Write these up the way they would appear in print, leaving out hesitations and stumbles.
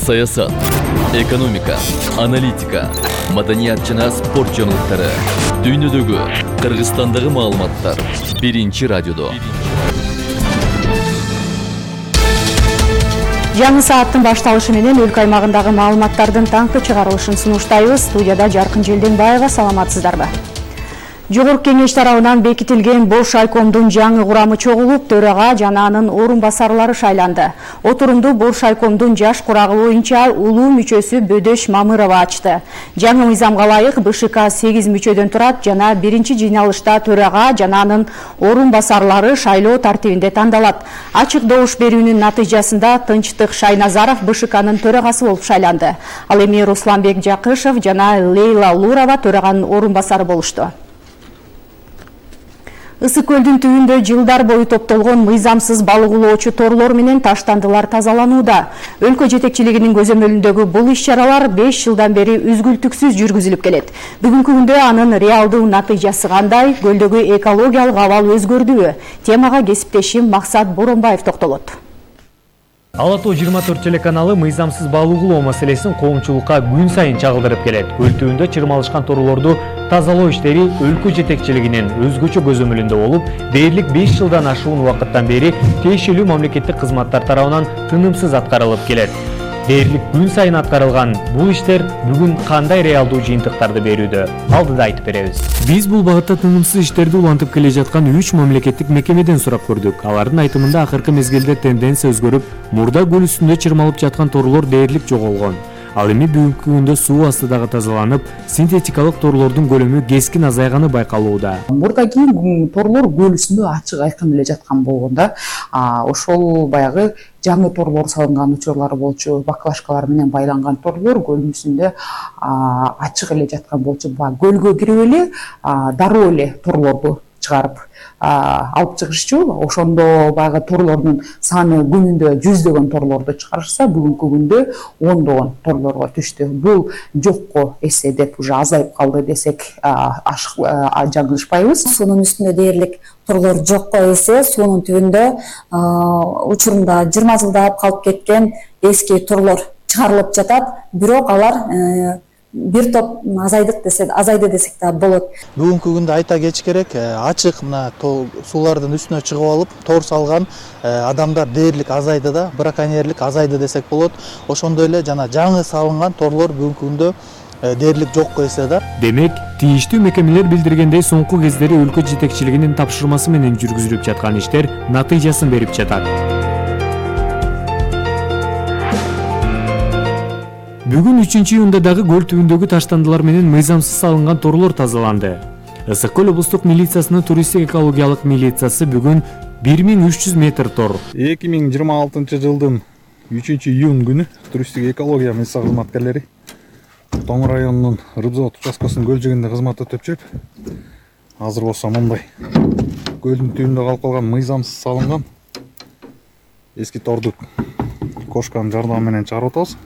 саясат, экономика, аналитика, маданият жана спорт жаңылыктары, дүйнөдөгү, Кыргызстандагы маалыматтар биринчи радиодо. Жаңы сааттын башталышы менен өлкө аймагындагы маалыматтардын таңкы чыгарылышын сунуштайбыз. Студияда Жаркын Желденбаева, саламатсыздарбы? Жогорку кеңеш тарабынан бекитилген бош айкомдун жаңы курамы чогулуп, төрага жана анын орун басарлары шайланды. Отурумду бош айкомдун жаш курагы боюнча улуу мүчөсү Бөдөш Мамырова ачты. Жаңы мыйзамга ылайык БШК 8 мүчөдөн турат жана биринчи жыйналышта төрага жана анын орун басарлары шайлоо тартибинде тандалат. Ачык добуш берүүнүн натыйжасында Тынчтык Шайназаров БШКнын төрагасы болуп шайланды. Ал эми Русланбек Жакышев жана Лейла Лурова төраганын орун басары болушту. Ысык көлдүн түбүндө жылдар бою топтолгон мыйзамсыз балык улоочу торлор менен таштандылар тазаланууда. Өлкө жетекчилигинин көзөмөлүндөгү бул иш-чаралар 5 жылдан бери үзгүлтүксүз жүргүзүлүп келет. Бүгүнкү күндө анын реалдуу натыйжасы кандай, көлдөгү экологиялык абал өзгөрдүбү? Темага кесиптешим Максат Боронбаев токтолот. Ала Тоо 24 телеканалы мыйзамсыз балык улоо маселесин коомчулукка күн сайын чагылдырып келет. Көл түбүндө чырмалышкан торлорду тазалоо иштери өлкө жетекчилигинин өзгөчө көзөмөлүндө болуп, дээрлик 5 жылдан ашуун убакыттан бери тиешелүү мамлекеттик кызматтар тарабынан тынымсыз аткарылып келет. Дээрлик күн сайын аткарылган бул иштер бүгүн кандай реалдуу жыйынтыктарды берүүдө? Алдыда айтып беребиз. Биз бул багытта тынымсыз иштерди улантып келе жаткан 3 мамлекеттик мекемеден сурап көрдүк. Алардын айтымында акыркы мезгилде тенденция өзгөрүп, мурда көл үстүндө чырмалып жаткан торлор дээрлик жоголгон. Ал эми бүгүнкү күндө суу астыдагы тазаланып, синтетикалык торлордун көлөмү кескин азайганы байкалууда. Мурдагы торлор көл үстүндө ачык айкын эле жаткан болгондо, ошол баягы жаңы торлор салынган учурлары болчу, баклажкалар менен байланган торлор көлдүн үстүндө ачык эле жаткан болчу. Көлгө кирип эле дароо эле торлорду чыгарып алып чыгышчу. Ошондо баягы торлордун саны күнүндө жүздөгөн торлорду чыгарышса, бүгүнкү күндө ондогон торлорго түштү. Бул жокко эсе деп уже азайып калды десек жаңылышпайбыз. Суунун үстүндө дээрлик торлор жокко эсе, суунун түбүндө учурунда 20 жылдап калып кеткен эски торлор чыгарылып жатат. Бирок алар бир топ азайды десек да болот. Бүгүнкү күндө айта кетиш керек, ачык мына суулардын үстүнө чыгып алып, тор салган адамдар дээрлик азайды да, браконьерлик азайды десек болот. Ошондой эле жана жаңы салынган торлор бүгүнкү күндө дээрлик жокко эсе да. Демек, тийиштүү мекемелер билдиргендей соңку кездери өлкө жетекчилигинин тапшырмасы менен жүргүзүлүп жаткан иштер натыйжасын берип жатат. Бүгүн 3-июнда дагы көл түбүндөгү таштандылар менен мыйзамсыз салынган торлор тазаланды. Ысык көл облустук милициясынын туристтик экологиялык милициясы бүгүн 1300 метр тор. 2026 жылдын 3-июнь күнү туристтик экология милиция кызматкерлери Тоң районунун Рыбзавод участкасынын көл жигинде кызмат өтөп жүрүп, азыр болсо мындай көлдүн түбүндө калып калган мыйзамсыз салынган эски торду кошканын жардамы менен чыгарып атабыз.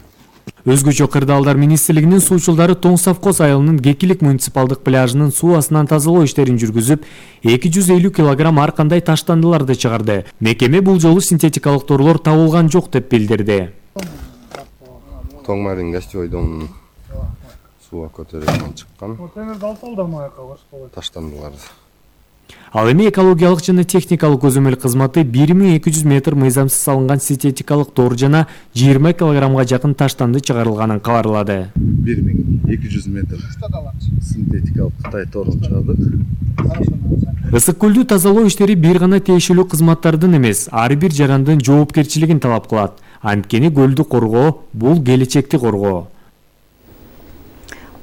Өзгөчө Кырдаалдар министрлигинин суучулдары Тоң Савкоз айылынын Кекилик муниципалдык пляжынын суу астынан тазалоо иштерин жүргүзүп, 250 килограмм ар кандай таштандыларды чыгарды. Мекеме бул жолу синтетикалык торлор табылган жок деп билдирди. Тоң майрын гостевой домунун сууга көтөрүлгөн чыккан таштандыларды. Ал эми экологиялык жана техникалык көзөмөл кызматы 1200 метр мыйзамсыз салынган синтетикалык тор жана 20 килограммга жакын таштанды чыгарылганын кабарлады. 1200 метр синтетикалык Кытай торун чыгардык. Ысык көлдү тазалоо иштери бир гана тиешелүү кызматтардын эмес, ар бир жарандын жоопкерчилигин талап кылат. Анткени көлдү коргоо бул келечекти коргоо.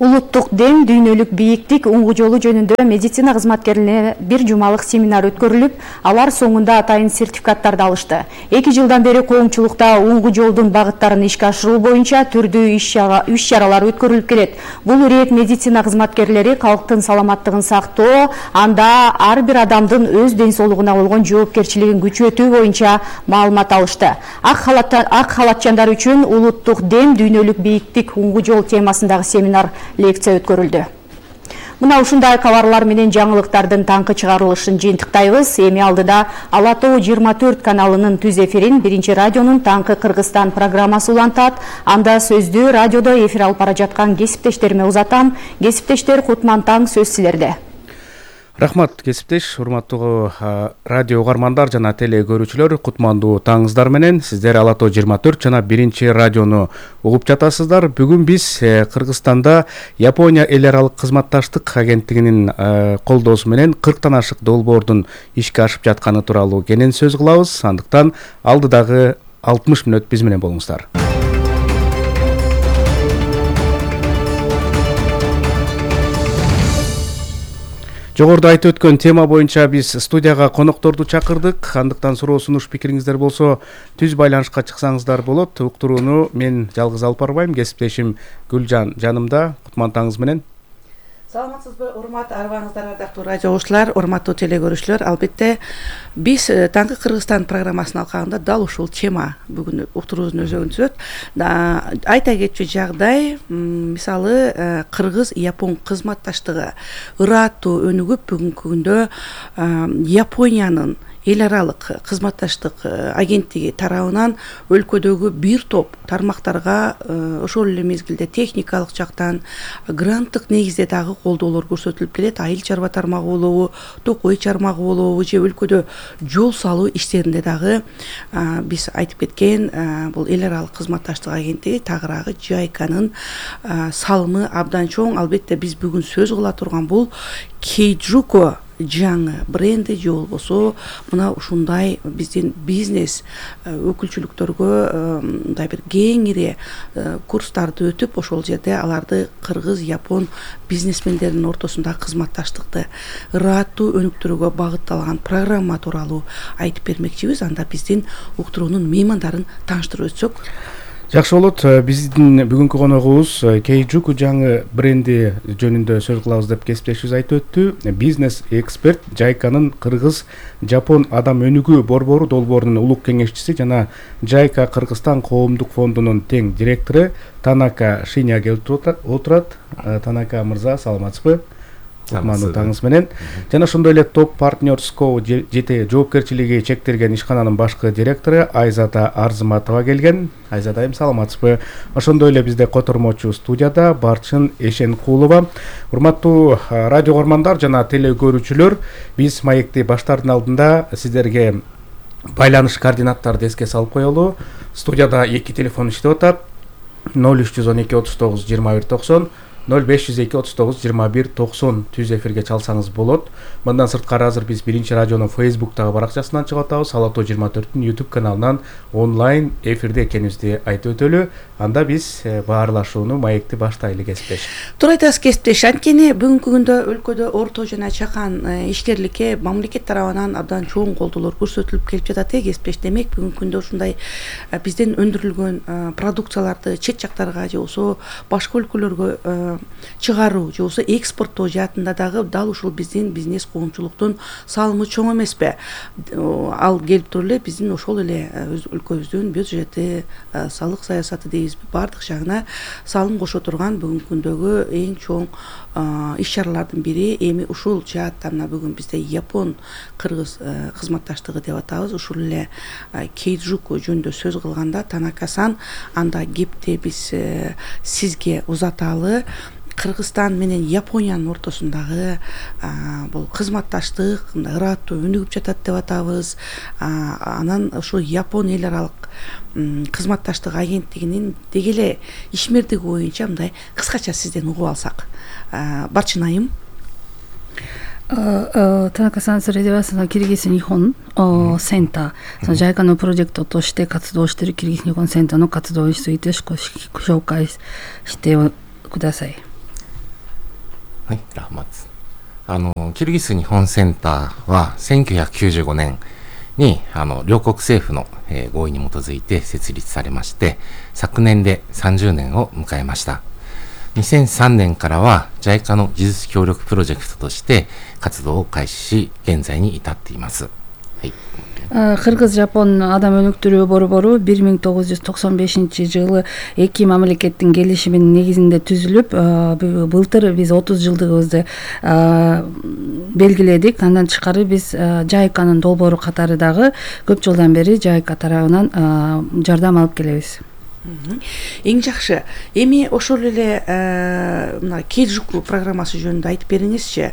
Улуттук дем, дүйнөлүк бийиктик уңгу жолу жөнүндө медицина кызматкерлерине бир жумалык семинар өткөрүлүп, алар соңунда атайын сертификаттарды алышты. 2 жылдан бери коомчулукта уңгу жолдун багыттарын ишке ашыруу боюнча түрдүү иш-чаралар өткөрүлүп келет. Бул ирет медицина кызматкерлери калктын саламаттыгын сактоо, анда ар бир адамдын өз ден соолугуна болгон жоопкерчилигин күчөтүү боюнча маалымат алышты. Ак халатчандар үчүн улуттук дем, дүйнөлүк бийиктик уңгу жол темасындагы семинар лекция өткөрүлдү. Мына ушундай кабарлар менен жаңылыктардын таңкы чыгарылышын жыйынтыктайбыз. Эми алдыда Ала Тоо 24 каналынын түз эфирин Биринчи радионун Таңкы Кыргызстан программасы улантат. Анда сөздү радиодо эфир алып бара жаткан кесиптештериме узатам. Кесиптештер, Кутман таң сөз силерде. Рахмат кесиптеш, урматтуу радио угармандар жана теле көрүүчүлөр, кутмандуу таңыңыздар менен сиздер Ала Тоо 24 жана Биринчи радиону угуп жатасыздар. Бүгүн биз Кыргызстанда Япония эл аралык кызматташтык агенттигинин колдоосу менен 40тан ашык долбоордун ишке ашып жатканы тууралуу кенен сөз кылабыз. Андыктан алдыдагы 60 мүнөт биз менен болуңуздар. Жогоруда айтып өткөн тема боюнча биз студияга конокторду чакырдык. Андыктан суроо сунуш пикириңиздер болсо түз байланышка чыксаңыздар болот. Уктурууну мен жалгыз алып барбайм, кесиптешим Гүлжан жанымда. Кутман таңыңыз менен. Саламатсызбы, урматтуу арбаңыздар, ардактуу радио угуучулар, урматтуу теле көрүүчүлөр. Албетте биз Таңкы Кыргызстан программасынын алкагында дал ушул тема бүгүн уктуруубуздун өзөгүн түзөт. Айта кетчү жагдай, мисалы Кыргыз-Япон кызматташтыгы ырааттуу өнүгүп, бүгүнкү күндө Япониянын эл аралык кызматташтык агенттиги тарабынан өлкөдөгү бир топ тармактарга ошол эле мезгилде техникалык жактан гранттык негизде дагы колдоолор көрсөтүлүп келет. Айыл чарба тармагы болобу, токой чармагы болобу же өлкөдө жол салуу иштеринде дагы биз айтып кеткен бул эл аралык кызматташтык агенттиги тагыраагы JICAнын салымы абдан чоң. Албетте биз бүгүн сөз кыла турган бул Кейджуко жаңы бренди же болбосо мына ушундай биздин бизнес өкүлчүлүктөргө мындай бир кеңири курстарды өтүп, ошол жерде аларды кыргыз-япон бизнесмендеринин ортосундагы кызматташтыкты ырааттуу өнүктүрүүгө багытталган программа тууралуу айтып бермекчибиз. Анда биздин уктуруунун меймандарын тааныштырып өтсөк жакшы болот. Биздин бүгүнкү коногубуз Кейджуко жаңы бренди жөнүндө сөз кылабыз деп кесиптешибиз айтып өттү. Бизнес эксперт, JICAнын Кыргыз-Жапон адам өнүгүү борбору долбоорунун улук кеңешчиси жана JICA Кыргызстан коомдук фондунун тең директору Танака Шиня келип отурат. Танака мырза, саламатсызбы? Кутмандуу таңыңыз менен. Жана ошондой эле Топ Партнерс Co жеке жоопкерчилиги чектелген ишкананын башкы директору Айзада Арзыматова келген. Айзада айым, саламатсызбы? Ошондой эле бизде котормочу студияда Барчын Эшенкулова. Урматтуу радио угармандар жана теле көрүүчүлөр, биз маекти баштардын алдында сиздерге байланыш координаттарды эске салып коелу. Студияда 2 телефон иштеп атат. 0312 39 21 90 0502 39 21 90 түз эфирге чалсаңыз болот. Мындан сырткары азыр биз Биринчи радионун Facebook'тагы баракчасынан чыгып атабыз. Ала Тоо 24'түн YouTube каналынан онлайн эфирде экенибизди айтып өтөлү. Анда биз баарлашууну маекти баштайлы кесиптеш. Туура айтасыз кесиптеш. Анткени бүгүнкү күндө өлкөдө орто жана чакан ишкерликке мамлекет тарабынан абдан чоң колдоолор көрсөтүлүп келип жатат кесиптеш. Демек бүгүнкү күндө ушундай бизден өндүрүлгөн продукцияларды чет жактарга же болбосо башка өлкөлөргө чыгаруу же болбосо экспорттоо жаатында дагы дал ушул биздин бизнес коомчулуктун салымы чоң эмеспи? Ал келип туруп эле биздин ошол эле өлкөбүздүн бюджети, салык саясаты дейбизби, баардык жагына салым кошо турган бүгүнкү күндөгү эң чоң иш чаралардын бири. Эми ушул жаатта мына бүгүн бизде Япон Кыргыз кызматташтыгы деп атабыз. Ушул эле Кейджуко жөнүндө сөз кылганда Танака-сан, анда кепти биз сизге узаталы. Кыргызстан менен Япониянын ортосундагы бул кызматташтык ырааттуу өнүгүп жатат деп атабыз. Анан ошол Япон эл аралык кызматташтык агенттигинин деги эле ишмердиги боюнча мындай кыскача сизден угуп алсак. Барчын айым. Танака-сан、それではそのキルギス日本センター、その JICA のプロジェクトとして活動しているキルギス日本センターの活動について紹介してください。はい、ラハマツ。キルギス日本センターは1995年に両国政府の合意に基づいて設立されまして、昨年で30年を迎えました。2003年からは JICA の技術協力プロジェクトとして活動を開始し、現在に至っています。Кыргыз Жапон адам өнүктүрүү борбору 1995-жылы эки мамлекеттин келишиминин негизинде түзүлүп, былтыр биз 30 жылдыгыбызды белгиледик. Андан тышкары биз JICAнын долбоору катары дагы көп жылдан бери JICA тарабынан жардам алып келебиз. Эң жакшы. Эми ошол эле мына Кейджуку программасы жөнүндө айтып бериңизчи.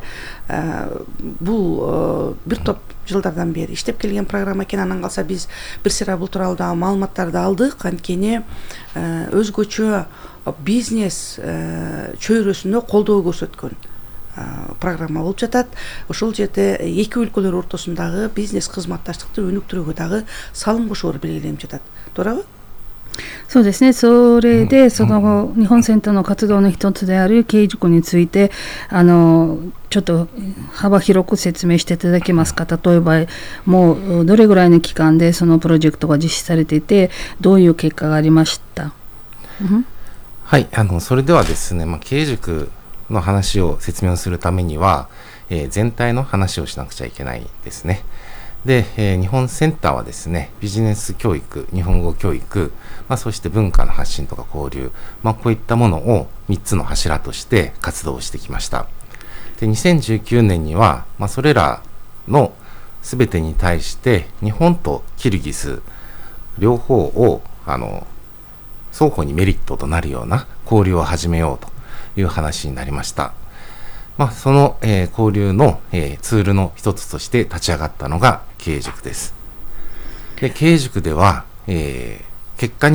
Бул бир топ жылдардан бери иштеп келген программа экен. Андан калса биз бир сыйра бул тууралуу дагы маалыматтарды алдык. Анткени өзгөчө бизнес чөйрөсүнө колдоо көрсөткөн программа болуп жатат. Ошол жерде эки өлкөлөр ортосундагы бизнес кызматташтыкты өнүктүрүүгө дагы салым кошоор белгиленип жатат. Туурабы? そうですね。それでその日本センターの活動の一つである経営塾についてちょっと幅広く説明していただけますか。例えばもうどれぐらいの期間でそのプロジェクトが実施されていてどういう結果がありました。はい、それではですね、経営塾の話を説明するためには、全体の話をしなくちゃいけないですね。で、日本センターはですね、ビジネス教育、日本語教育、そして文化の発信とか交流、こういったものを3つの柱として活動してきました。で、2019年には、それらの全てに対して日本とキルギス両方を双方にメリットとなるような交流を始めようという話になりました。その、交流の、ツールの一つとして立ち上がったのが経営塾です。で、経営塾では、結果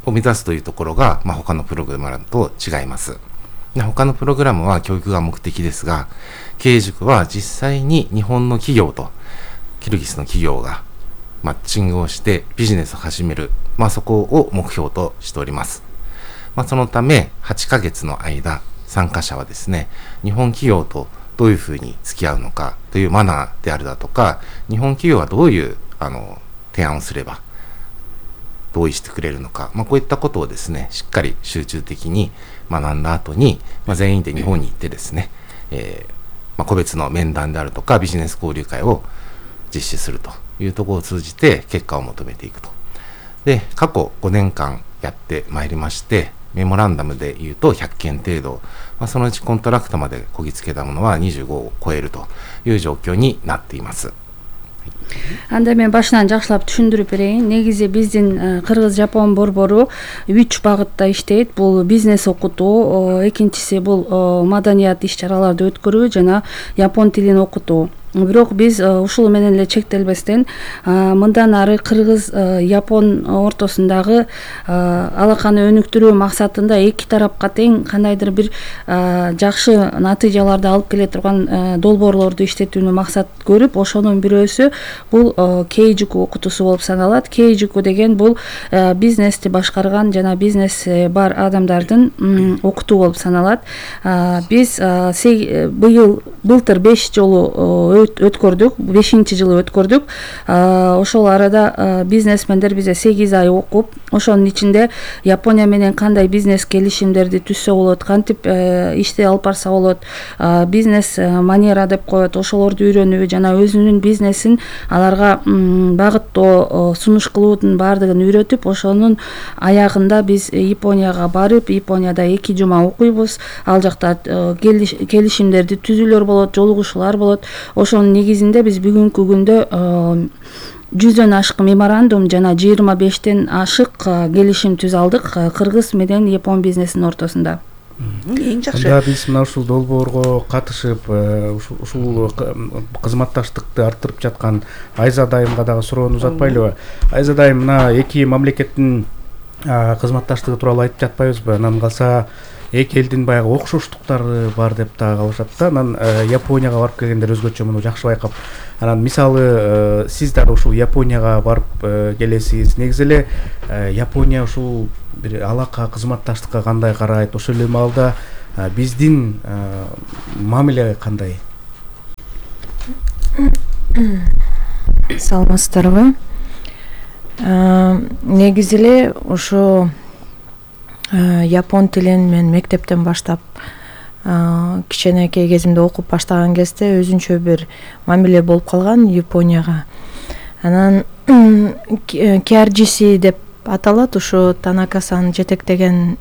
を目指すというところが、他のプログラムと違います。で、他のプログラムは教育が目的ですが、経営塾は実際に日本の企業とキルギスの企業がマッチングをしてビジネスを始める、そこを目標としております。そのため8ヶ月の間、参加者はですね、日本企業とどういうふうに付き合うのかというマナーであるだとか、日本企業はどういう提案をすれば同意してくれるのか、こういったことをですね、しっかり集中的に学んだ後に、全員で日本に行ってですね、個別の面談であるとかビジネス交流会を実施するというところを通じて結果を求めていくと。で、過去5年間やってまいりまして、メモランダムで言うと100件程度、そのうちコントラクトまでこぎつけたものは25を超えるという状況になっています。Анда мен башынан жакшылап түшүндүрүп берейин. Негизи биздин Кыргыз Жапон борбору 3 багытта иштейт. Бул бизнес окутуу, экинчиси бул маданият иш-чараларды өткөрүү жана япон тилин окутуу. Бирок биз ушул менен эле чектелбестен мындан ары Кыргыз Япон ортосундагы алаканы өнүктүрүү максатында эки тарапка тең кандайдыр бир жакшы натыйжаларды алып келе турган долбоорлорду иштетүүнү максат көрүп, ошонун бирөөсү бул Кейджуку окутуусу болуп саналат. Кейджуку деген бул бизнести башкарган жана бизнеси бар адамдардын окутуу болуп саналат. Биз былтыр 5 жолу өткөрдүк, 5-жылы өткөрдүк. Ошол арада бизнесмендер бизе 8 ай окуп, ошонун ичинде Япония менен кандай бизнес келишимдерди түзсө болот, кантип ишти алып барса болот, бизнес манера деп коет, ошолорду үйрөнүү жана өзүнүн бизнесин аларга багыттоо, сунуш кылуунун баардыгын үйрөтүп, ошонун аягында биз Японияга барып, Японияда 2 жума окуйбуз. Ал жакта келишимдерди түзүүлөр болот, жолугушуулар болот. Ошонун негизинде биз бүгүнкү күндө 100дөн ашык меморандум жана 25тен ашык келишим түзө алдык Кыргыз менен Япон бизнесинин ортосунда. Эң жакшы. Анда биз мына ушул долбоорго катышып, ушул кызматташтыкты арттырып жаткан Айза дайымга дагы суроону узатпайлыбы? Айза дайым, мына эки мамлекеттин кызматташтыгы тууралуу айтып жатпайбызбы? Анан калса эки элдин баягы окшоштуктары бар деп дагы калышат да. Анан Японияга барып келгендер өзгөчө муну жакшы байкап. Анан мисалы сиз дагы ушул Японияга барып келесиз. Негизи эле Япония ушул бир алака кызматташтыкка кандай карайт? Ошол эле маалда биздин мамиле кандай? Саламатсыздарбы? Негизи эле ошо япон тилин мен мектептен баштап кичинекей кезимде окуп баштаган кезде өзүнчө бир мамиле болуп калган Японияга. Анан KRGC деп аталат, ушу Танакасан жетектеген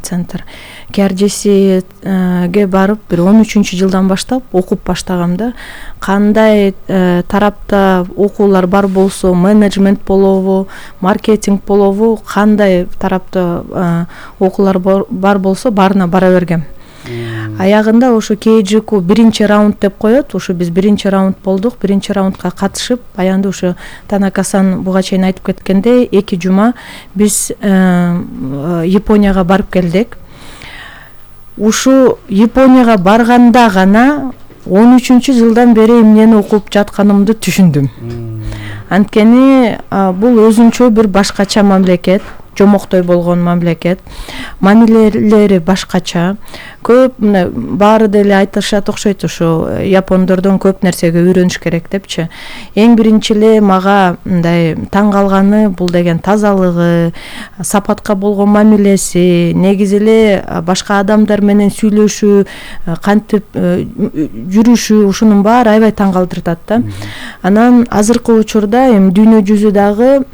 центр. KRGCге барып бир 13-жылдан баштап окуп баштагам да. Кандай тарапта окуулар бар болсо, менеджмент болобу, маркетинг болобу, кандай тарапта окуулар бар болсо баарына бара бергем. Аягында ошо Кейджику биринчи раунд деп коет. Ошо биз биринчи раунд болдук. Биринчи раундга катышып, аянда ошо Танакасан буга чейин айтып кеткендей 2 жума биз Японияга барып келдик. Ушу Японияга барганда гана 13-жылдан бери эмнени окуп жатканымды түшүндүм. Анткени бул өзүнчө бир башкача мамлекет, жомоктой болгон мамлекет, мамилелери башкача. Көп баары деле айтышат окшойт, ушу япондордон көп нерсеге үйрөнүш керек депчи. Эң биринчи эле мага мындай таң калганы бул деген тазалыгы, сапатка болгон мамилеси, негизи эле башка адамдар менен сүйлөшүү, кантип жүрүшү, ушунун баары аябай таң калтыртат да. Анан азыркы учурда эми дүйнө жүзү дагы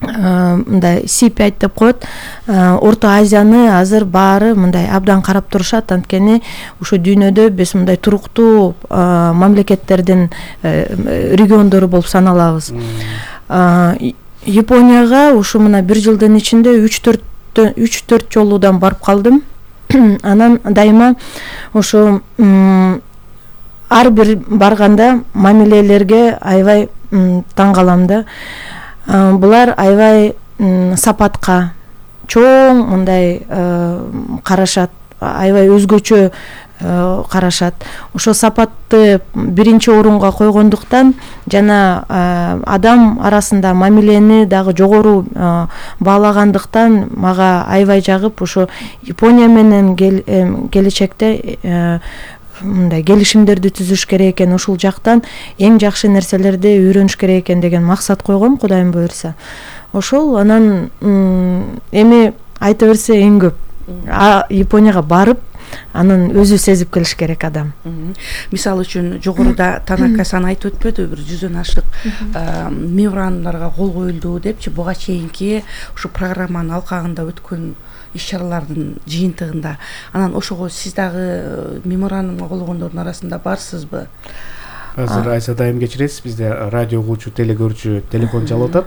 мындай сипайт деп коет. Орто Азияны азыр баары мындай абдан карап турушат, анткени ушу дүйнөдө биз мындай туруктуу мамлекеттердин региондору болуп саналабыз. Японияга ушу мына 1 жылдын ичинде 3-4 жолудан барып калдым. Анан дайыма ушу ар бир барганда мамилелерге аябай таң калам да. Булар аябай сапатка чоң мындай карашат, аябай өзгөчө карашат. Ошо сапатты биринчи орунга койгондуктан жана адам арасында мамилени дагы жогору баалагандыктан мага аябай жагып, ошо Япония менен келечекте мындай келишимдерди түзүш керек экен, ушул жактан эң жакшы нерселерди үйрөнүш керек экен деген максат койгом, Кудайым буйрса. Ошол анан эми айта берсе эң көп Японияга барып, анын өзү сезип келиш керек адам. Мисалы үчүн жогоруда Танакасан айтып өтпөдү, бир 100дөн ашык меморандумдарга кол коюлду депчи, буга чейинки ушу программанын алкагында өткөн иш-чаралардын жыйынтыгында. Анан ошого сиз дагы меморандумга кол койгондордун арасында барсызбы? Азыр Айса дайым кечиресиз, бизде радио угуучу, телегөрүүчү телефон чалып атат.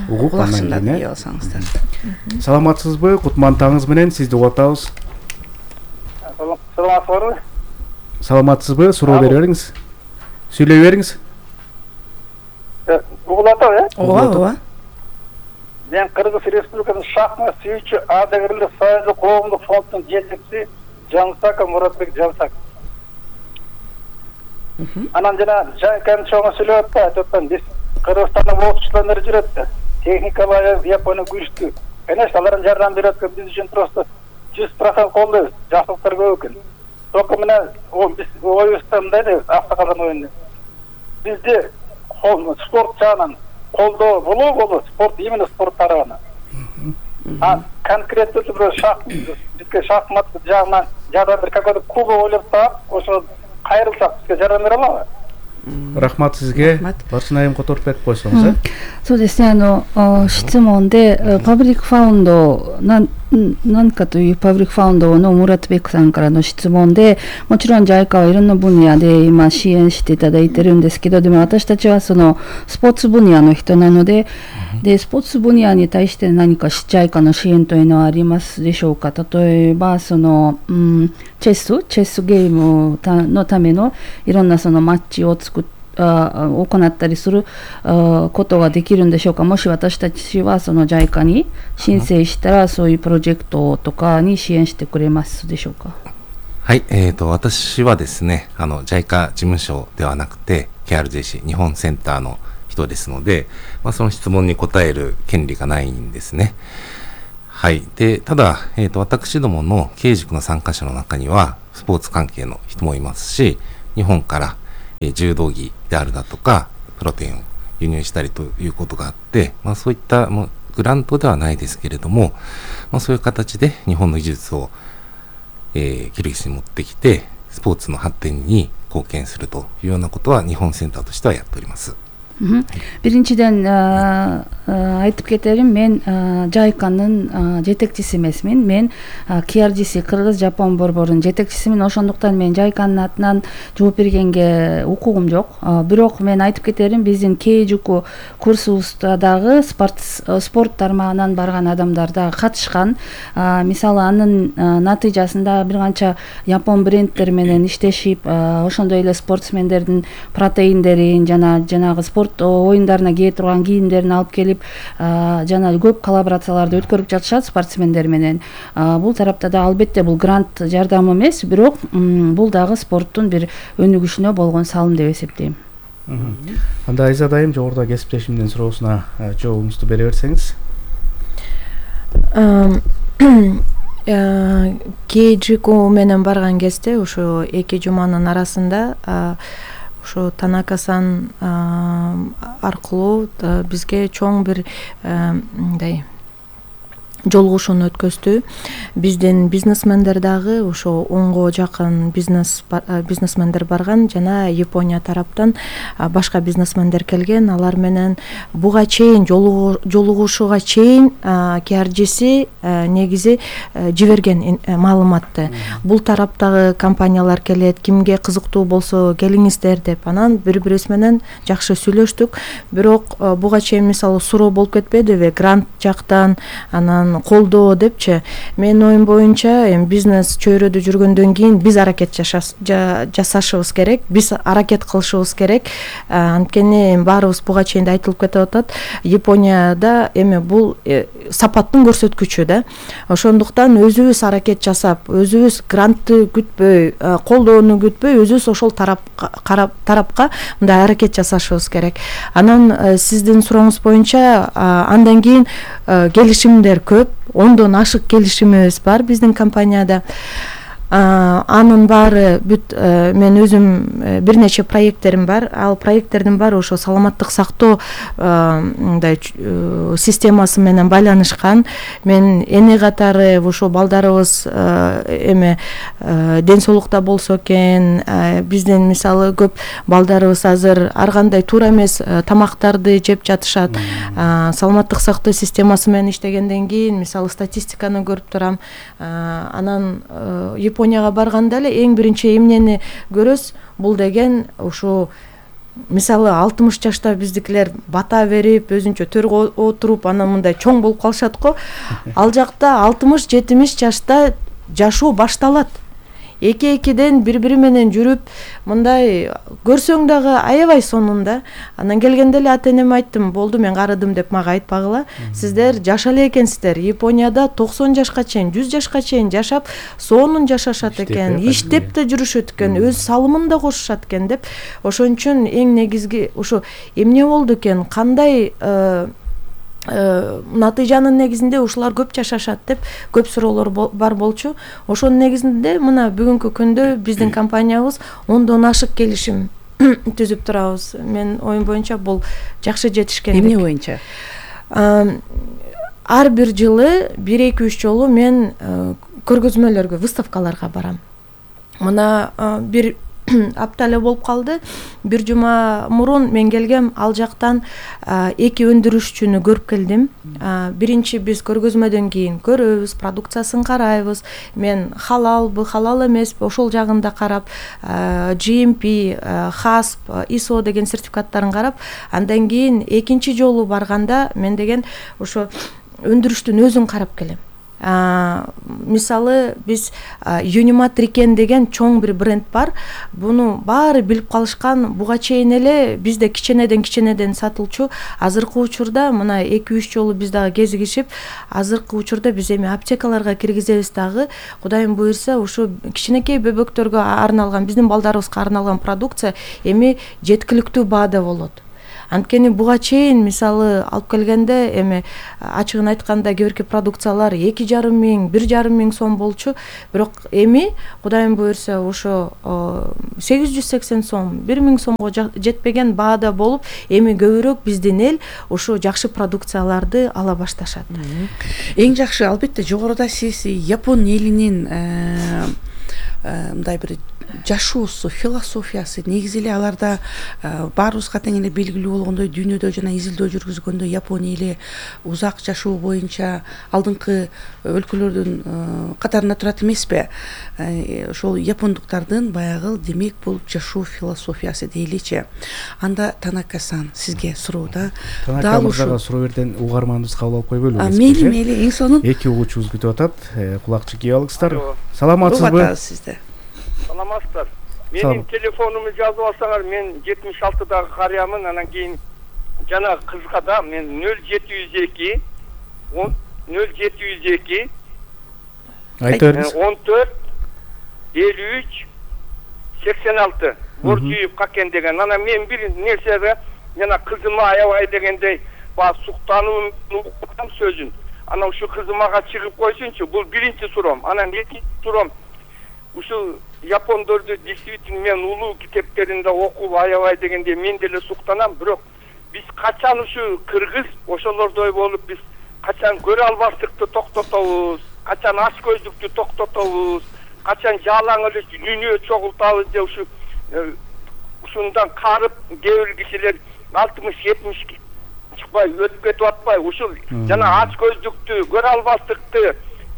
Угуп андан кийин алсаңыздар. Саламатсызбы? Кутман таңыңыз менен сизди угуп атабыз. Саламатсызбы? Саламатсызбы? Суроо бере бериңиз. Сүйлөй бериңиз. Угуп атабы, Ооба. Мен Кыргыз Республикасынын шахмат сүйүүчү ардагерлер союзу коомдук фондунун жетекчиси Жансаков Муратбек Жансаков. Анан жана Жайканы чоңо сүйлөп атат, биз Кыргызстанда окуучулар жүрөт да. Техникалар Япония күчтүү. Конечно, алардын жардам берет, биз үчүн просто 100% колдойбуз. Жакшылыктар көп экен. Только мына биз оюбузда мындай дейбиз, автокалдан оюнда. Бизде спорт жагынан колдоо болобу, спорт именно спорт тарабынан. Конкретно бизге шахмат жагынан жардам бир какой-то клуб ойлоп таап, ошо кайрылсак бизге жардам бере алабы? Рахмат сизге. Барсынайым Которбек койсоңуз,そうですね、質問でパブリックファウンド何かというパブリックファウンドのムラトベックさんからの質問で、もちろん JICA はいろんな分野で今支援していただいてるんですけど、でも私たちはそのスポーツ分野の人なので、スポーツ分野に対して何か JICA の支援というのはありますでしょうか。例えばその、チェスゲームのためのいろんなそのマッチを行ったりすることができるんでしょうか。もし私たちはその JICA に申請したらそういうプロジェクトとかに支援してくれますでしょうか。はい、私はですね、JICA 事務所ではなくて KRJC 日本センターの人ですので、その質問に答える権利がないんですね。はい。で、ただ、私どもの経営塾の参加者の中にはスポーツ関係の人もいますし、日本から柔道着であるだとかプロテインを輸入したりということがあって、そういったグラントではないですけれども、そういう形で日本の技術を、キルギスに持ってきてスポーツの発展に貢献するというようなことは日本センターとしてはやっております。Биринчиден айтып кетерим, мен Жайканын жетекчиси эмесмин. Мен KRGC Кыргыз Жапон борборунун жетекчисимин. Ошондуктан мен Жайканын атынан жооп бергенге укугум жок. Бирок мен айтып кетерим, биздин Кейжуку курсубузда дагы спорт тармагынан барган адамдар да катышкан. Мисалы анын натыйжасында бир канча Япон брендтери менен иштешип, ошондой эле спортсмендердин протеиндерин жанагы спорт оюндарына кие турган кийимдерин алып келип, жана көп коллаборацияларды өткөрүп жатышат спортсмендер менен. Бул тарапта да албетте бул грант жардам эмес, бирок бул дагы спорттун бир өнүгүшүнө болгон салым деп эсептейм. Анда Айзат айым жогоруда кесиптешимдин суроосуна жообуңузду бере берсеңиз. Кейжику менен барган кезде ошо 2 жуманын арасында ошо Танака-сан аркылуу бизге чоң бир мындай жолугушууну өткөздү. Биздин бизнесмендер дагы ошо 10го жакын бизнесмендер барган жана Япония тараптан башка бизнесмендер келген. Алар менен буга чейин жолугушууга чейин KRGC негизи жиберген маалыматты. Бул тараптагы компаниялар келет, кимге кызыктуу болсо келиңиздер деп. Анан бири-бирибиз менен жакшы сүйлөштүк. Бирок буга чейин мисалы суроо болуп кетпедиби? Грант жактан, анан колдоо депчи. Менин оюм боюнча бизнес чөйрөдө жүргөндөн кийин биз аракет жасашыбыз керек, биз аракет кылышыбыз керек. Анткени баарыбыз буга чейин да айтылып кетип атат. Японияда бул сапаттын көрсөткүчү да. Ошондуктан өзүбүз аракет жасап, өзүбүз грантты күтпөй, колдоону күтпөй, өзүбүз ошол тарапка мындай аракет жасашыбыз керек. Анан сиздин сурооңуз боюнча андан кийин келишимдер көп, 10дон ашык келишимибиз бар биздин компанияда. Анын баары бүт мен өзүм бир нече проекттерим бар. Ал проекттердин баары ошо саламаттык сактоо мындай системасы менен байланышкан. Мен эне катары ошо балдарыбыз ден соолукта болсо экен, биздин мисалы көп балдарыбыз азыр ар кандай туура эмес тамактарды жеп жатышат. Саламаттык сактоо системасы менен иштегенден кийин мисалы статистиканы көрүп турам. Анан Японияга барганда эле эң биринчи эмнени көрөс, бул деген ошо мисалы 60 жашта биздикилер бата берип, өзүнчө төргө отуруп, анан мындай чоң болуп калышат го. Ал жакта 60-70 жашта жашоо башталат. Эки-экиден бири-бири менен жүрүп, мындай көрсөң дагы аябай сонунда. Анан келгенде эле ата-энеме айттым, болду мен карыдым деп мага айтпагыла. Сиздер жашале экенсиздер. Японияда 90 жашка чейин, 100 жашка чейин жашап, сонун жашашат экен, иштеп да жүрүшөт экен, өз салымын да кошушат экен деп. Ошон үчүн эң негизги ошо эмне болду экен, кандай натыйжанын негизинде ушулар көп жашашат деп көп суроолор бар болчу. Ошонун негизинде мына бүгүнкү күндө биздин компаниябыз 10дон ашык келишим түзүп турабыз. Мен оюм боюнча бул жакшы жетишкендик. Эмне боюнча? Ар бир жылы 1-2-3 жолу мен көргөзмөлөргө, выставкаларга барам. Мына бир апта эле болуп калды. Бир жума мурун мен келгем, ал жактан 2 өндүрүшчүнү көрүп келдим. Биринчи биз көргөзмөдөн кийин көрөбүз, продукциясын карайбыз. Мен халалбы, халал эмеспи, ошол жагында карап, GMP, HACCP, ISO деген сертификаттарын карап, андан кийин экинчи жолу барганда мен деген ошо өндүрүштүн өзүн карап келем. Мисалы биз Unimatriken деген чоң бир бренд бар. Буну баары билип калышкан. Буга чейин эле бизде киченеден сатылчу. Азыркы учурда мына 2-3 жолу биз дагы кезигишип, азыркы учурда биз эми аптекаларга киргизебиз дагы. Кудайым буйрса, ушу кичинекей бөбөктөргө арналган, биздин балдарыбызга арналган продукция эми жеткиликтүү баада болот. Анткени буга чейин мисалы алып келгенде эми ачыгын айтканда кээ-бирки продукциялар 2,5 миң, 1,5 миң сом болчу. Бирок эми Кудайым буйрса ошо 880 сом, 1 миң сомго жетпеген баада болуп, эми көбүрөөк биздин эл ошо жакшы продукцияларды ала башташат. Эң жакшы албетте жогоруда сиз Япон элинин мындай бир жашоосу, философиясы негизи эле аларда баарыбызга тең эле белгилүү болгондой дүйнөдө жана изилдөө жүргүзгөндө Япония эле узак жашоо боюнча алдыңкы өлкөлөрдүн катарында турат эмеспи? Ошол япондуктардын баягы демек бул жашоо философиясы дейличи. Анда Танака-сан сизге суроо да. Танака мырзага суроо берден угарманыбыз кабыл алып койбойлу? Мейли, эң сонун. Эки угуучубуз күтүп атат. Кулакчы кийип алыңыздар. Саламатсызбы? Саламатсыздар. Менин телефонумду жазып алсаңар, мен 76-дагы карыямын, анан кийин жана кызга да мен 0702 14 53 86 Боржиев Какен деген. Анан мен бир нерсеге жана кызыма аябай дегендей баягы суктануу сөзүн. Анан ушу кызымага чыгып койсунчу. Бул биринчи суроом. Анан экинчи суроом ушул япондорду действительно мен улуу китептеринде окуп аябай дегенде мен деле суктанам, бирок биз качан ушу кыргыз ошолордой болуп биз качан көрө албастыкты токтотобуз, качан ач көздүктү токтотобуз, качан жалаң эле дүйнө чогултабыз деп ушундан карып кээ бир кишилер 60-70 чыкпай өтүп кетип атпайбы? Ушул жана ач көздүктү, көрө албастыкты,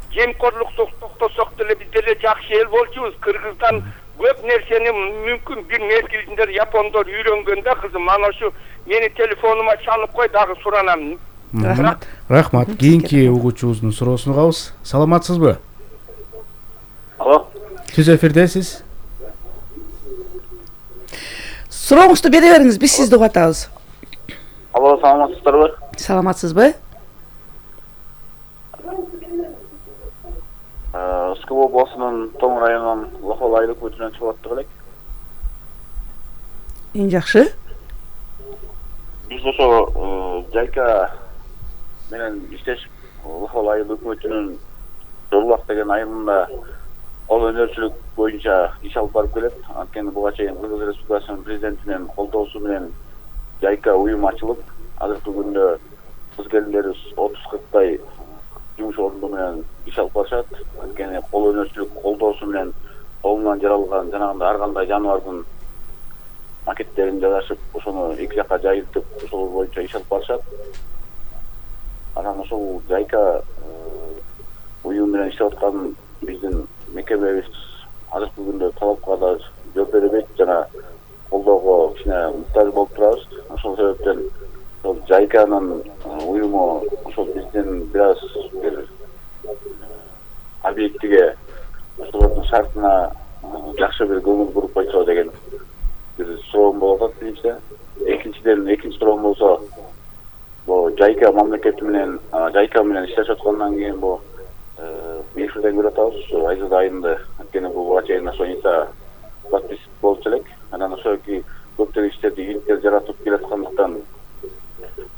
жемкорлукту токтосок деле биз деле жакшы эл болчубуз. Кыргыздан көп нерсени мүмкүн бир мезгилинде япондор үйрөнгөндө кызым ана ушу мени телефонума чалып кой, дагы суранам. Рахмат. Кийинки угуучубуздун суроосун угабыз. Саламатсызбы? Алло. Түз эфирдесиз. Сурооңузду бере бериңиз, биз сизди угуп атабыз. Алло, саламатсыздарбы? Саламатсызбы? Скобо областынын Тоң районунун Лохол айылык өтүнөн чыгып аттык элек. Эң жакшы. Биз ошо Жайка менен иштешип Лохол айыл өкмөтүнүн Жолбак деген айылында кол өнөрчүлүк боюнча иш алып барып келет. Анткени буга чейин Кыргыз Республикасынын президентинин колдоосу менен Жайка уюм ачылып, азыркы күндө кыз келиндерибиз 30-40тай жумуш орунду менен иш алып барышат. Анткени кол өнөрчүлүк колдоосу менен колунан жаралган жанагындай ар кандай жаныбардын макеттерин жасашып, ошону эки жакка жайылтып, ошол боюнча иш алып барышат. Анан ошол Жайка уюм менен иштеп аткан биздин мекемебиз азыркы күндө талапка да жооп бербейт жана колдоого кичине муктаж болуп турабыз. Ошол себептен ошол Жайканын уюму ошол биздин бир аз бир объектиге ошолордун шартына жакшы бир көңүл буруп койсо деген бир суроом болуп атат биринчиден. Экинчи суроом болсо, бул Жайка мамлекети менен Жайка менен иштешип аткандан кийин бул эфирден көрүп атабыз ушу Айзат айында. Анткени бул буга чейин ошо инста подпис болчу элек. Анан ошоки көптөгөн иштерди иликтер жаратып келаткандыктан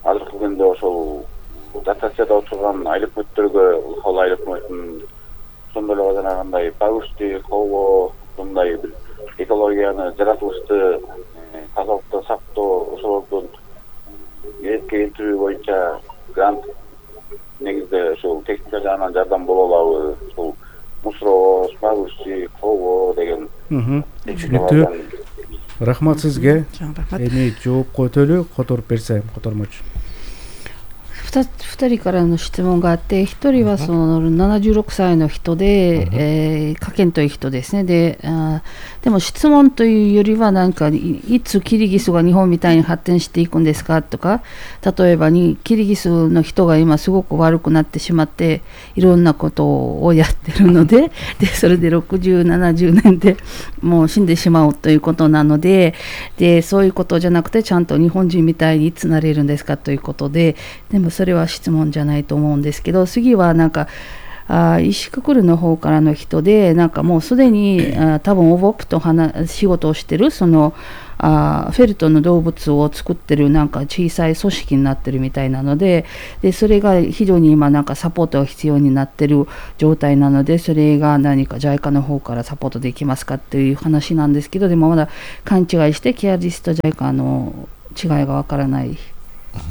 азыркы күндө ошол дотацияда отурган айыл өкмөттөргө Лохол айыл өкмөтүнүн ошондой эле жанагындай пагушти, коо, мындай бир экологияны, жаратылышты, тазалыкты сактоо, ошолордун эрке келтирүү боюнча грант негизде ошол техника жагынан жардам боло алабы? Ошол мусоровоз, пагушти, коо деген. Түшүнүктүү. Рахмат сизге. Эми жоопко өтөлү, которуп берсе, котормочу. 2人からの質問があって、1人はその76歳の人で、可見という人ですね。でも質問というよりはなんかいつキリギスが日本みたいに発展していくんですかとか、例えばにキリギスの人が今すごく悪くなってしまっていろんなことをやってるので、それで60、70年でもう死んでしまうということなので、そういうことじゃなくてちゃんと日本人みたいにいつなれるんですかということで、でもそれは質問じゃないと思うんですけど、次はなんか石くくるの方からの人で、なんかもうすでに多分オボップと仕事をしてるそのフェルトの動物を作ってるなんか小さい組織になってるみたいなので、それが非常に今なんかサポートが必要になってる状態なので、それが何か JICA の方からサポートできますかっていう話なんですけど、でもまだ勘違いしてケアリスト JICA の違いがわからない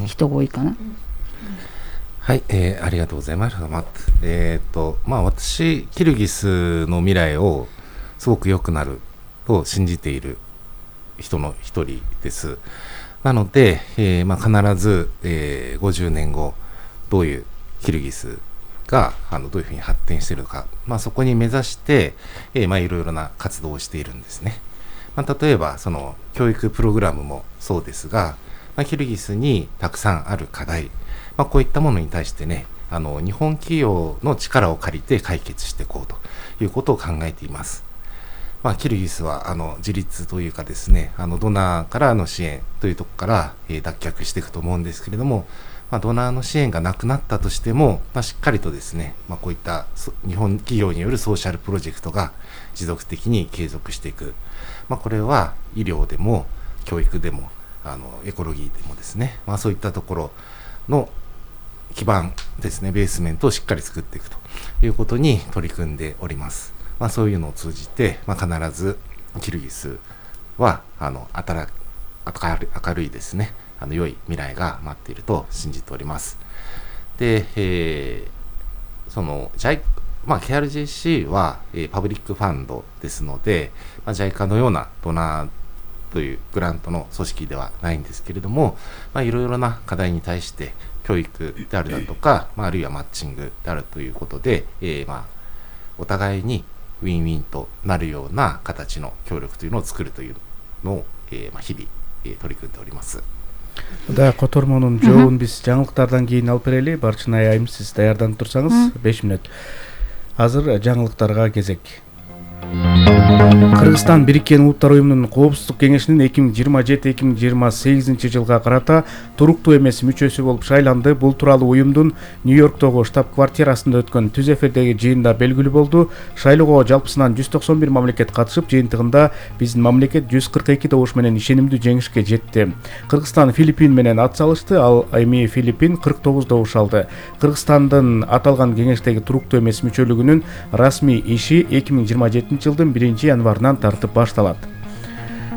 人が多いかな。はい、ありがとうございます。私、キルギスの未来をすごく良くなると信じている人の一人です。なので、必ず、50年後どういうキルギスがどういうふうに発展しているのか、そこに目指して、いろいろな活動をしているんですね。例えばその教育プログラムもそうですが、キルギスにたくさんある課題、こういったものに対してね、日本企業の力を借りて解決していこうということを考えています。キルギスは自立というかですね、ドナーからの支援というところから、脱却していくと思うんですけれども、ドナーの支援がなくなったとしても、しっかりとですね、こういった日本企業によるソーシャルプロジェクトが持続的に継続していく。これは医療でも教育でもエコロギーでもですね、そういったところの基盤ですね、ベースメントをしっかり作っていくということに取り組んでおります。そういうのを通じて、必ずキルギスは明るいですね、良い未来が待っていると信じております。で、そのKRJC は、パブリックファンドですので、JICA のようなドナーというグラントの組織ではないんですけれども、いろいろな課題に対して教育であるだとか、あるいはマッチングであるということで、お互いにウィンウィンとなるような形の協力というのを作るというのを、日々、取り組んでおります。Да, котормонун жообун биз жаңылыктардан кийин алып берели. Барчынай айым, сиз даярданып турсаңыз 5 мүнөт. Азыр жаңылыктарга кезек. Кыргызстан Бириккен Улуттар уюмунун Коопсуздук кеңешинин 2027-2028 жылга карата туруктуу эмес мүчөсү болуп шайланды. Бул тууралуу уюмдун Нью-Йорктогу штаб-квартирасында өткөн түз эфирдеги жыйында белгилүү болду. Шайлоого жалпысынан 191 мамлекет катышып, жыйынтыгында биздин мамлекет 142 добуш менен ишенимдүү жеңишке жетти. Кыргызстан Филиппин менен ат салышты, ал эми Филиппин 49 добуш алды. Кыргызстандын аталган кеңештеги туруктуу эмес мүчөлүгүнүн расмий иши 2027 жылдын 1-январынан тартып башталат.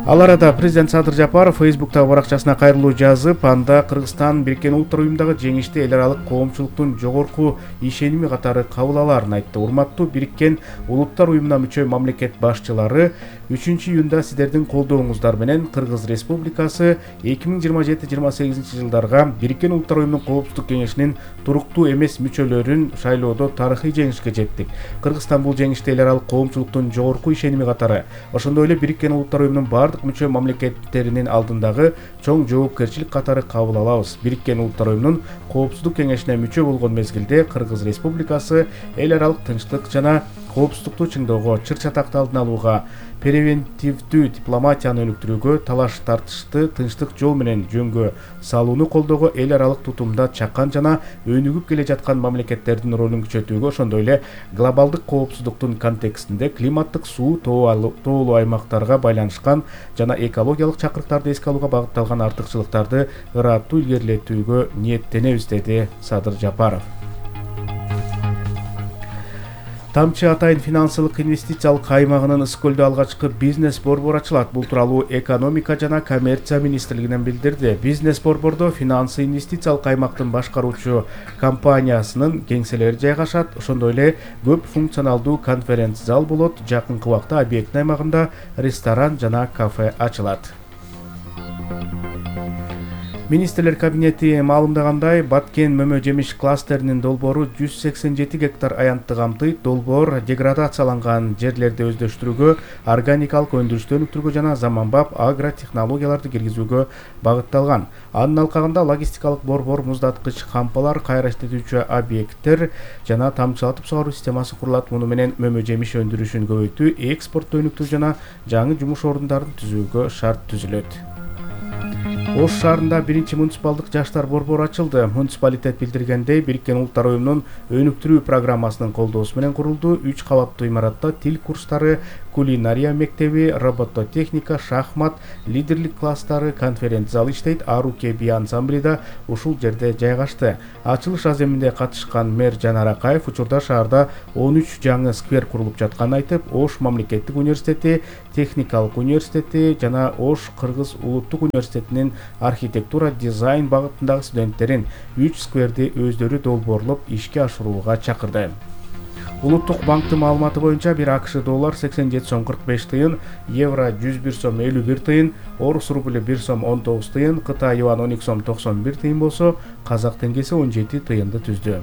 Ал арада президент Садыр Жапаров Фейсбуктагы баракчасына кайрылуу жазып, анда Кыргызстан Бириккен Улуттар уюмундагы жеңишти эл аралык коомчулуктун жогорку ишеними катары кабыл алаарын айтты. Урматтуу Бириккен Улуттар уюмуна мүчө мамлекет башчылары, 3-июнда сиздердин колдооңуздар менен Кыргыз Республикасы 2027-28 жылдарга Бириккен Улуттар уюмунун Коопсуздук кеңешинин туруктуу эмес мүчөлөрүн шайлоодо тарыхый жеңишке жеттик. Кыргызстан бул жеңишти эл аралык коомчулуктун жогорку ишеними катары, ошондой эле Бириккен Улуттар уюмунун мүчө мамлекеттеринин алдындагы чоң жоопкерчилик катары кабыл алабыз. Бириккен Улуттар уюмунун Коопсуздук кеңешине мүчө болгон мезгилде Кыргыз Республикасы эл аралык тынчтык жана коопсуздукту чыңдоого, чыр-чатакты алдын алууга, превентивдүү дипломатияны өнүктүрүүгө, талаш тартышты тынчтык жол менен жөнгө салууну колдоого, эл аралык тутумда чакан жана өнүгүп келе жаткан мамлекеттердин ролун күчөтүүгө, ошондой эле глобалдык коопсуздуктун контекстинде климаттык, суу, тоолуу аймактарга байланышкан жана экологиялык чакырыктарды эске алууга багытталган артыкчылыктарды ыраттуу илгерилетүүгө ниеттенебиз, деди Садыр Жапаров. Тамчы Атайын финансылык инвестициялык аймагынын Ысык-Көлдө алгачкы бизнес борбор ачылат. Бул тууралуу экономика жана коммерция министрлигинен билдирди. Бизнес борбордо финансы инвестициялык аймактын башкаруучу компаниясынын кеңселери жайгашат. Ошондой эле көп функционалдуу конференц зал болот. Жакынкы убакта объекттин аймагында ресторан жана кафе ачылат. Министрлер кабинети маалымдагандай, Баткен мөмө жемиш кластеринин долбоору 187 гектар аянтты камтыйт. Долбоор деградацияланган жерлерди өздөштүрүүгө, органикалык өндүрүштү өнүктүрүүгө жана заманбап агротехнологияларды киргизүүгө багытталган. Анын алкагында логистикалык борбор, муздаткыч кампалар, кайра иштетүүчү объекттер жана тамчылатып сугаруу системасы курулат. Муну менен мөмө жемиш өндүрүшүн көбөйтүү, экспортту өнүктүрүү жана жаңы жумуш орундарын түзүүгө шарт түзүлөт. Ош шаарында 1-чи муниципалдык жаштар борбору ачылды. Муниципалитет билдиргендей, Бириккен Улуттар уюмунун өнүктүрүү программасынын колдоосу менен курулду. 3 кабаттуу имаратта тил курстары, кулинария мектеби, робототехника, шахмат, лидерлик класстары, конференц залы иштейт. Аруке би ансамбли да ушул жерде жайгашты. Ачылыш аземинде катышкан мэр Жанар Акаев учурда шаарда 13 жаңы сквер курулуп жатканын айтып, Ош мамлекеттик университети, техникалык университети жана Ош Кыргыз улуттук университетинин архитектура дизайн багытындагы студенттерин 3 скверди өздөрү долбоорлоп ишке ашырууга чакырды. Улуттук банктын маалыматы боюнча бир АКШ доллар 87 сом 45 тыйын, евро 101 сом 51 тыйын, орус рубль 1 сом 19 тыйын, Кытай юан 12 сом 91 тыйын болсо, казак теңгеси 17 тыйынды түздү.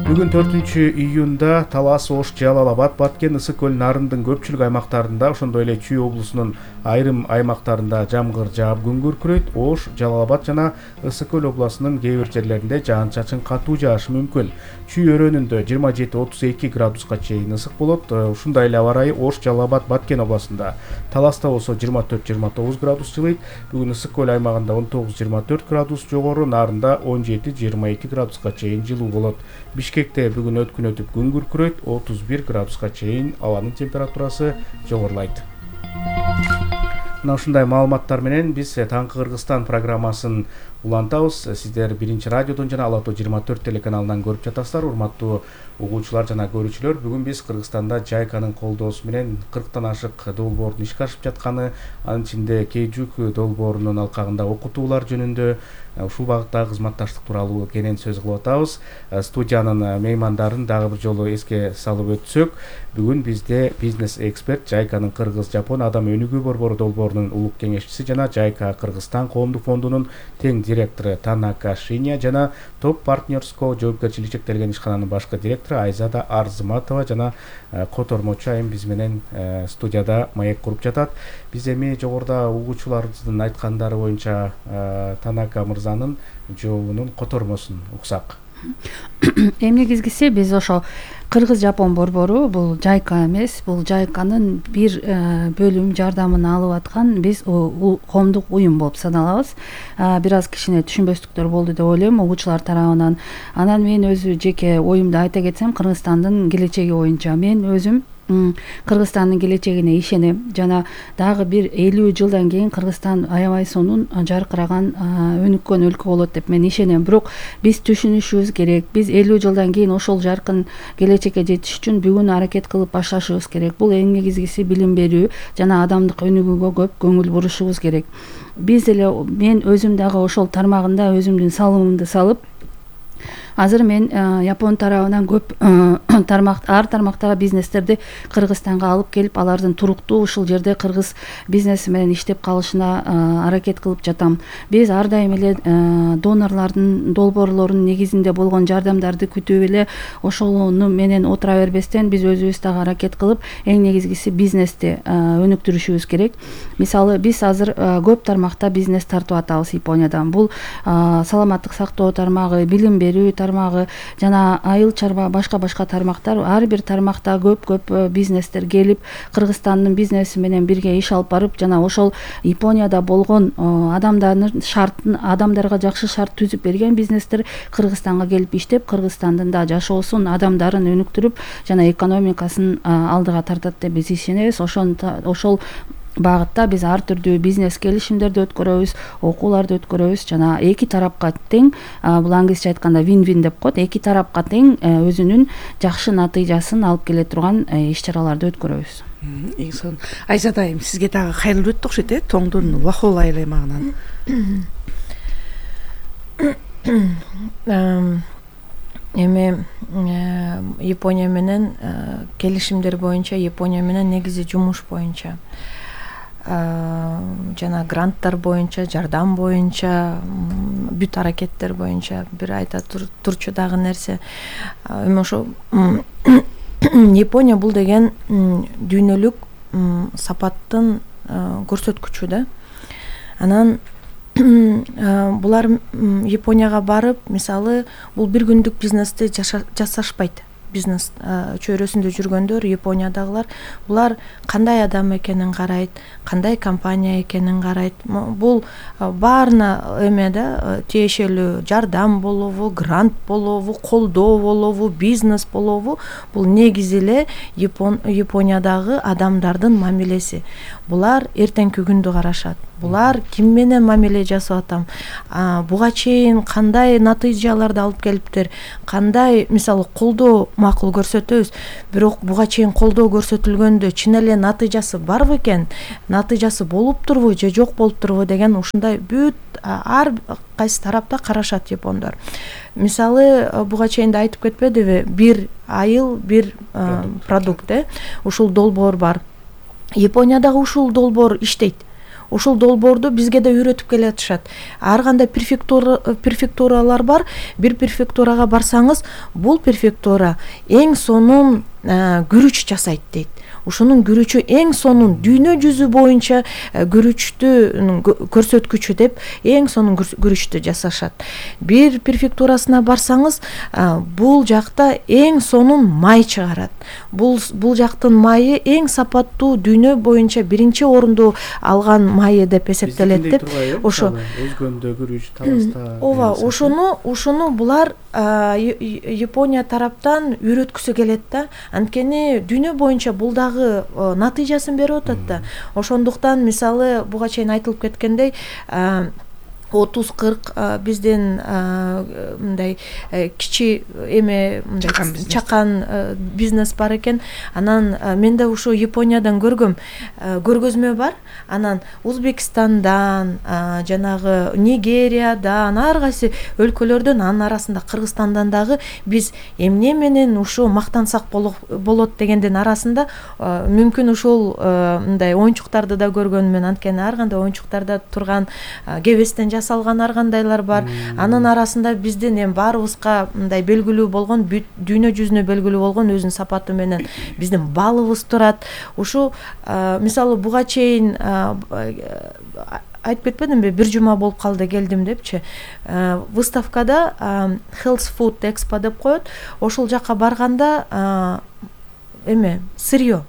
Бүгүн 4-июнда Талас, Ош, Жалал-Абад, Баткен, Ысык көл, Нарындын көпчүлүк аймактарында, ошондой эле Чүй облусунун айрым аймактарында жамгыр жаап күн күркүрөйт. Ош, Жалал-Абад жана Ысык көл областынын кээ бир жерлеринде жаан-чачын катуу жаашы мүмкүн. Чүй өрөөнүндө 27-32 градуска чейин ысык болот. Ушундай эле аба ырайы Ош, Жалал-Абад, Баткен областында. Таласта болсо 24-29 градус жылыйт. Бүгүн Ысык көл аймагында 19-24 градус жогору, Нарында 17-22 градуска чейин жылуу болот. Бишкекте бүгүн өткүн өтүп күн күркүрөйт, 31 градуска чейин абанын температурасы жогорулайт. Мына ушундай маалыматтар менен биз Таңкы Кыргызстан программасын улантабыз. Сиздер Биринчи радиодон жана Ала Тоо 24 телеканалынан көрүп жатасыздар. Урматтуу угуучулар жана көрүүчүлөр, бүгүн биз Кыргызстанда Жайканын колдоосу менен 40тан ашык долбоордун ишке ашып жатканы, анын ичинде Кейжук долбоорунун алкагында окутуулар жөнүндө ушул багыттагы кызматташтык тууралуу кенен сөз кылып атабыз. Студиянын меймандарын дагы бир жолу эске салып өтсөк, бүгүн бизде бизнес эксперт, Жайканын Кыргыз-Жапон адам өнүгүү борбору долбоорунун улук кеңешчиси жана Жайка Кыргызстан коомдук фондунун тең директору Танака Шиня жана Топ Партнерско жоопкерчилиги чектелген ишкананын башкы директору Айзада Арзыматова жана котормочу айым биз менен студияда маек куруп жатат. Биз эми жогоруда угуучуларыбыздын айткандары боюнча Танака мырзанын жообунун котормосун уксак. Эми негизгиси биз ошо Кыргыз-Жапон борбору бул Жайка эмес, бул Жайканын бир бөлүм жардамын алып аткан биз коомдук уюм болуп саналабыз. Бир аз кичине түшүнбөстүктөр болду деп ойлойм угуучулар тарабынан. Анан мен өзү жеке оюмду айта кетсем, Кыргызстандын келечеги боюнча мен өзүм Кыргызстандын келечегине ишенем жана дагы бир 50 жылдан кийин Кыргызстан аябай сонун жаркыраган өнүккөн өлкө болот деп мен ишенем. Бирок биз түшүнүшүбүз керек. Биз 50 жылдан кийин ошол жаркын келечекке жетиш үчүн бүгүн аракет кылып башташыбыз керек. Бул эң негизгиси билим берүү жана адамдык өнүгүүгө көп көңүл бурушубуз керек. Биз деле мен өзүм дагы ошол тармагында өзүмдүн салымымды салып, азыр мен Япон тарабынан көп ар тармактагы бизнестерди Кыргызстанга алып келип, алардын туруктуу ушул жерде кыргыз бизнеси менен иштеп калышына аракет кылып жатам. Биз ар дайым эле донорлордун, долбоорлордун негизинде болгон жардамдарды күтүп эле ошону менен отура бербестен биз өзүбүз дагы аракет кылып, эң негизгиси бизнести өнүктүрүшүбүз керек. Мисалы, биз азыр көп тармакта бизнес тартып атабыз Япониядан. Бул саламаттык сактоо тармагы, билим берүү тармагы жана айыл чарба башка тармактар, ар бир тармакта көп бизнестер келип Кыргызстандын бизнеси менен бирге иш алып барып, жана ошол Японияда болгон адамдарга жакшы шарт түзүп берген бизнестер Кыргызстанга келип иштеп, Кыргызстандын да жашоосун, адамдарын өнүктүрүп жана экономикасын алдыга тартат деп биз ишенебиз. Ошол багытта биз ар түрдүү бизнес келишимдерди өткөрөбүз, окууларды өткөрөбүз жана эки тарапка тең, бул англисче айтканда win-win деп коет, эки тарапка тең өзүнүн жакшы натыйжасын алып келе турган иш-чараларды өткөрөбүз. Эң сонун. Айзада айым, сизге дагы кайрылып өттүк окшойт, Тоңдун Лохол айыл аймагынан. Эми Япония менен келишимдер боюнча, Япония менен негизи жумуш боюнча жана гранттар боюнча, жардам боюнча, бүт аракеттер боюнча бир айта турчу дагы нерсе, эми ошо Япония бул деген дүйнөлүк сапаттын көрсөткүчү да. Анан булар Японияга барып, мисалы, бул бир күндүк бизнести жасашпайт. Бизнес чөйрөсүндө жүргөндөр, Япониядагылар, булар кандай адам экенин карайт, кандай компания экенин карайт. Бул баарына эме да тиешелүү жардам болобу, грант болобу, колдоо болобу, бизнес болобу, бул негизи эле Япониядагы адамдардын мамилеси. Булар эртеңки күндү карашат. булар ким менен мамиле жасап атам, буга чейин кандай натыйжаларды алып келиптир, кандай мисалы колдоо макул көрсөтөбүз, бирок буга чейин колдоо көрсөтүлгөндө чын эле натыйжасы барбы экен, натыйжасы болуптурбу же жок болуптурбу деген ушундай бүт ар кайсы тарапта карашат япондор. Мисалы буга чейин да айтып кетпедиби, бир айыл бир продукт, ушул долбоор бар. Япониядагы ушул долбоор иштейт. Ушул долбоорду бизге да үйрөтүп келатышат. Ар кандай префектуралар бар. Бир префектурага барсаңыз, бул префектура эң сонун күрүч жасайт дейт. Ушунун күрүчү эң сонун дүйнө жүзү боюнча күрүчтү көрсөткүчү деп эң сонун күрүчтү жасашат. Бир префектурасына барсаңыз, бул жакта эң сонун май чыгарат. Бул жактын майы эң сапаттуу дүйнө боюнча биринчи орунду алган майы деп эсептелет деп. Ошо өзгөндө күрүч таласта. Ооба, ошону булар Япония тараптан үйрөткүсү келет да. Анткени дүйнө боюнча бул дагы натыйжасын берип атат да. Ошондуктан мисалы буга чейин айтылып кеткендей 30-40 биздин мындай кичи эме чакан бизнес бар экен. Анан мен да ушу Япониядан көргөзмө бар. Анан Узбекистандан, жанагы Нигериядан, ар кайсы өлкөлөрдөн, анын арасында Кыргызстандан дагы биз эмне менен ушу мактансак болот дегендин арасында мүмкүн ушул мындай оюнчуктарды да көргөнмүн. Анткени ар кандай оюнчуктарда турган кебестен жасалган ар кандайлар бар. Анын арасында биздин эми баарыбызга мындай белгилүү болгон, дүйнө жүзүнө белгилүү болгон өзүнүн сапаты менен биздин балыбыз турат. Ушу мисалы буга чейин айтып кетпедимби, бир жума болуп калды келдим депчи. Выставкада Health Food Expo деп коет. Ошол жака барганда сырьё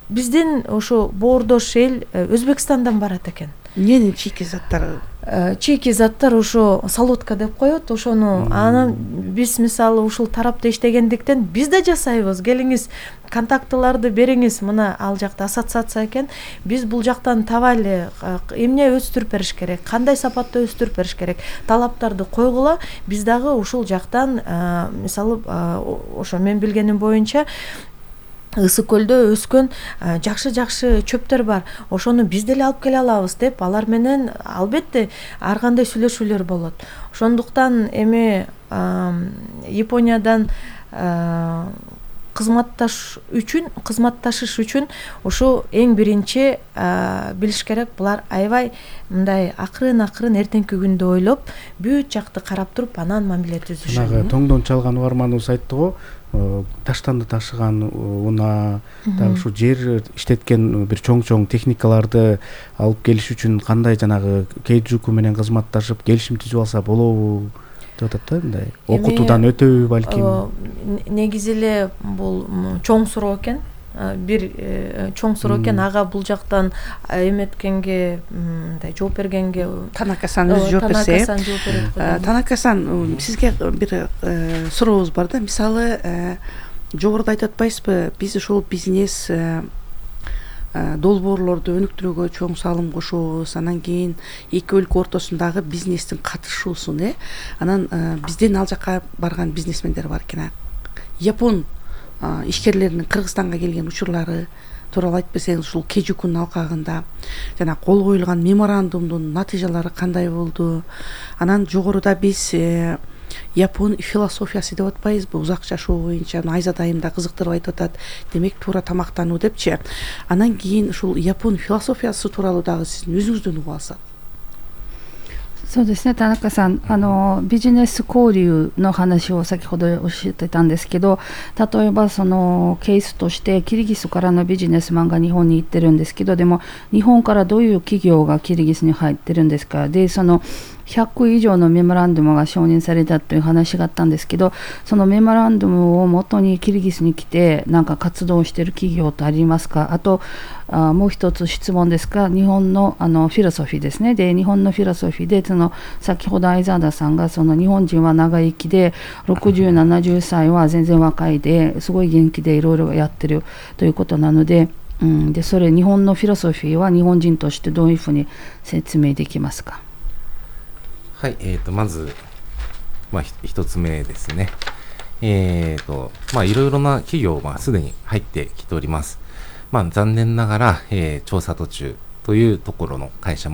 биздин ошо боордош эл Өзбекстандан барат экен. Эмненин чийки заттары? Чийки заттар ошо солодка деп коет. Ошону анан биз мисалы ушул тарапта иштегендиктен биз да жасайбыз. Келиңиз, контактыларды бериңиз. Мына ал жакта ассоциация экен. Биз бул жактан табайлы, эмне өстүрүп бериш керек, кандай сапатта өстүрүп бериш керек, талаптарды койгула. Биз дагы ушул жактан мисалы ошо мен билгеним боюнча Ысык көлдө өскөн жакшы чөптөр бар. Ошону биз деле алып келе алабыз деп алар менен албетте ар кандай сүйлөшүүлөр болот. Ошондуктан Япониядан кызматташыш үчүн ушу эң биринчи билиш керек. Булар аябай мындай акырын эртеңки күндү ойлоп, бүт жакты карап туруп, анан мамиле түзүшөт. Тоңдон чалган угарманыбыз айтты го, таштанды ташыган унаа, дагы ушу жер иштеткен бир чоң техникаларды алып келиш үчүн кандай жанагы Кейджуку менен кызматташып келишим түзүп алса болобу деп атат да, мындай окутуудан өтөбү балким. Негизи эле бул чоң суроо экен. Бир чоң суроо экен. Ага бул жактан эметкенге, мындай жооп бергенге Танака-сан өзү жооп берсе. Танака-сан, сизге бир сурообуз бар да. Мисалы, жогоруда айтып атпайсызбы, биз ушул бизнес долбоорлорду өнүктүрүүгө чоң салым кошобуз, анан кийин эки өлкө ортосундагы бизнестин катышуусун, анан бизден ал жака барган бизнесмендер бар экен. Япон ишкерлеринин Кыргызстанга келген учурлары тууралуу айтып берсеңиз, ушул Кейджукунун алкагында жана кол коюлган меморандумдун натыйжалары кандай болду? Анан жогоруда биз Япон философиясы деп атпайбызбы, узак жашоо боюнча Айзат айым да кызыктырып айтып атат, демек туура тамактануу депчи. Анан кийин ушул Япон философиясы тууралуу дагы сиздин өзүңүздөн угуп алсак. そうですね、田中さん、ビジネス交流の話を先ほどおっしゃってたんですけど、例えばそのケースとしてキルギスからのビジネスマンが日本に行ってるんですけど、でも日本からどういう企業がキルギスに入ってるんですか。で、その100以上のメモランドムが承認されたという話があったんですけど、そのメモランドムを元にキルギスに来てなんか活動している企業ってありますか。あともう一つ質問ですが、日本のフィロソフィーですね。で、日本のフィロソフィーでその先ほど相沢田さんがその日本人は長生きで60、70歳は全然若いですごい元気でいろいろやってるということなので、でそれ日本のフィロソフィーは日本人としてどういうふうに説明できますか？はい、まず、一つ目ですね。いろいろな企業がすでに入ってきております。残念ながら、調査途中というところの会社